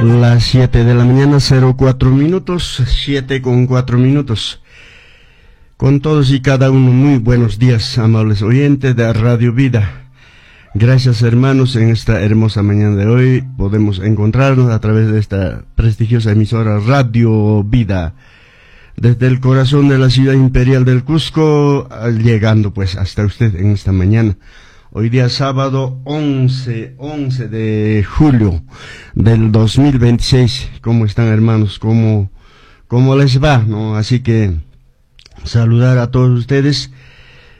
Las 7 de la mañana, 04 minutos, 7 con 4 minutos. Con todos y cada uno, muy buenos días, amables oyentes de Radio Vida. Gracias, hermanos, en esta hermosa mañana de hoy podemos encontrarnos a través de esta prestigiosa emisora Radio Vida. Desde el corazón de la ciudad imperial del Cusco, llegando pues hasta usted en esta mañana. Hoy día sábado 11 de julio del 2026. ¿Cómo están, hermanos? ¿Cómo les va? ¿No? Así que saludar a todos ustedes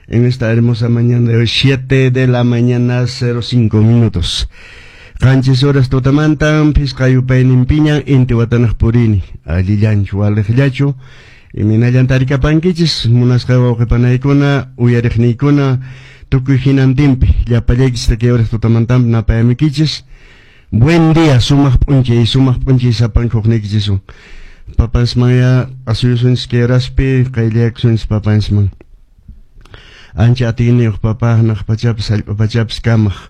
en esta hermosa mañana de hoy, 7 de la mañana, 05 minutos. 7 horas tutamantan, phisqa yupayninpiñan, inti watanaq purini, allillanchu, waliqllachu, imaynallanta tarikapankichis, munasqa wawqipanaykuna, uyariqniykuna, tukuy hinantinpi, llapallaykichis kay horas tutamantan napayamikichis. Buen día, sumaq p'unchay, sumaq p'unchay sapanka hukniykichisun. Papansmanya asuyusunchis kay horaspi, qayllakusunchis papansman. Ancha atiyniyuq papa, hanaq pachapas, hallp'a pachapas kamaq.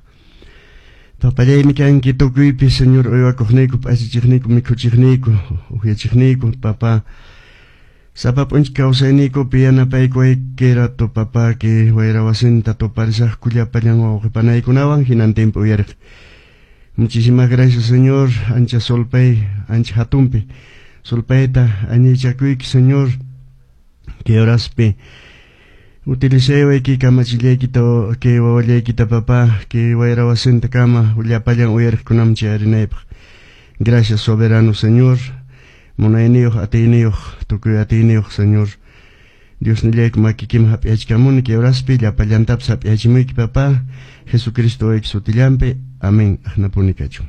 Papallaymi kanki tukuypi, Señor, uywakuqniyku, p'achachiqniyku, mikhuchiqniyku, upyachiqniyku, papa. Sapa p'unchay kawsayniykupi yanapaykuwayki rato, papa, kay wayra wasinta tuparisaqku llapallan wawqipanaykunawan hinantinpi uyariq. Muchísimas gracias, Señor, ancha solpay, ancha hatunpi. Solpayta añaychakuyki, Señor, kay horaspi utilizaywayki kamachillaykita kay wawallaykita, papá, kay wayra wasinta kama llapallan uyariqkunaman chayarinaypaq. Gracias, soberano Señor, munayniyuq, atiyniyuq, tukuy atiyniyuq Señor. Diosnillayku makikiman hap'iyachkamuni kay horaspi llapallantapas hap'iyachimuyki, papá, Jesucristo wayki sutillanpi. Amén. Aqnapuni kachun.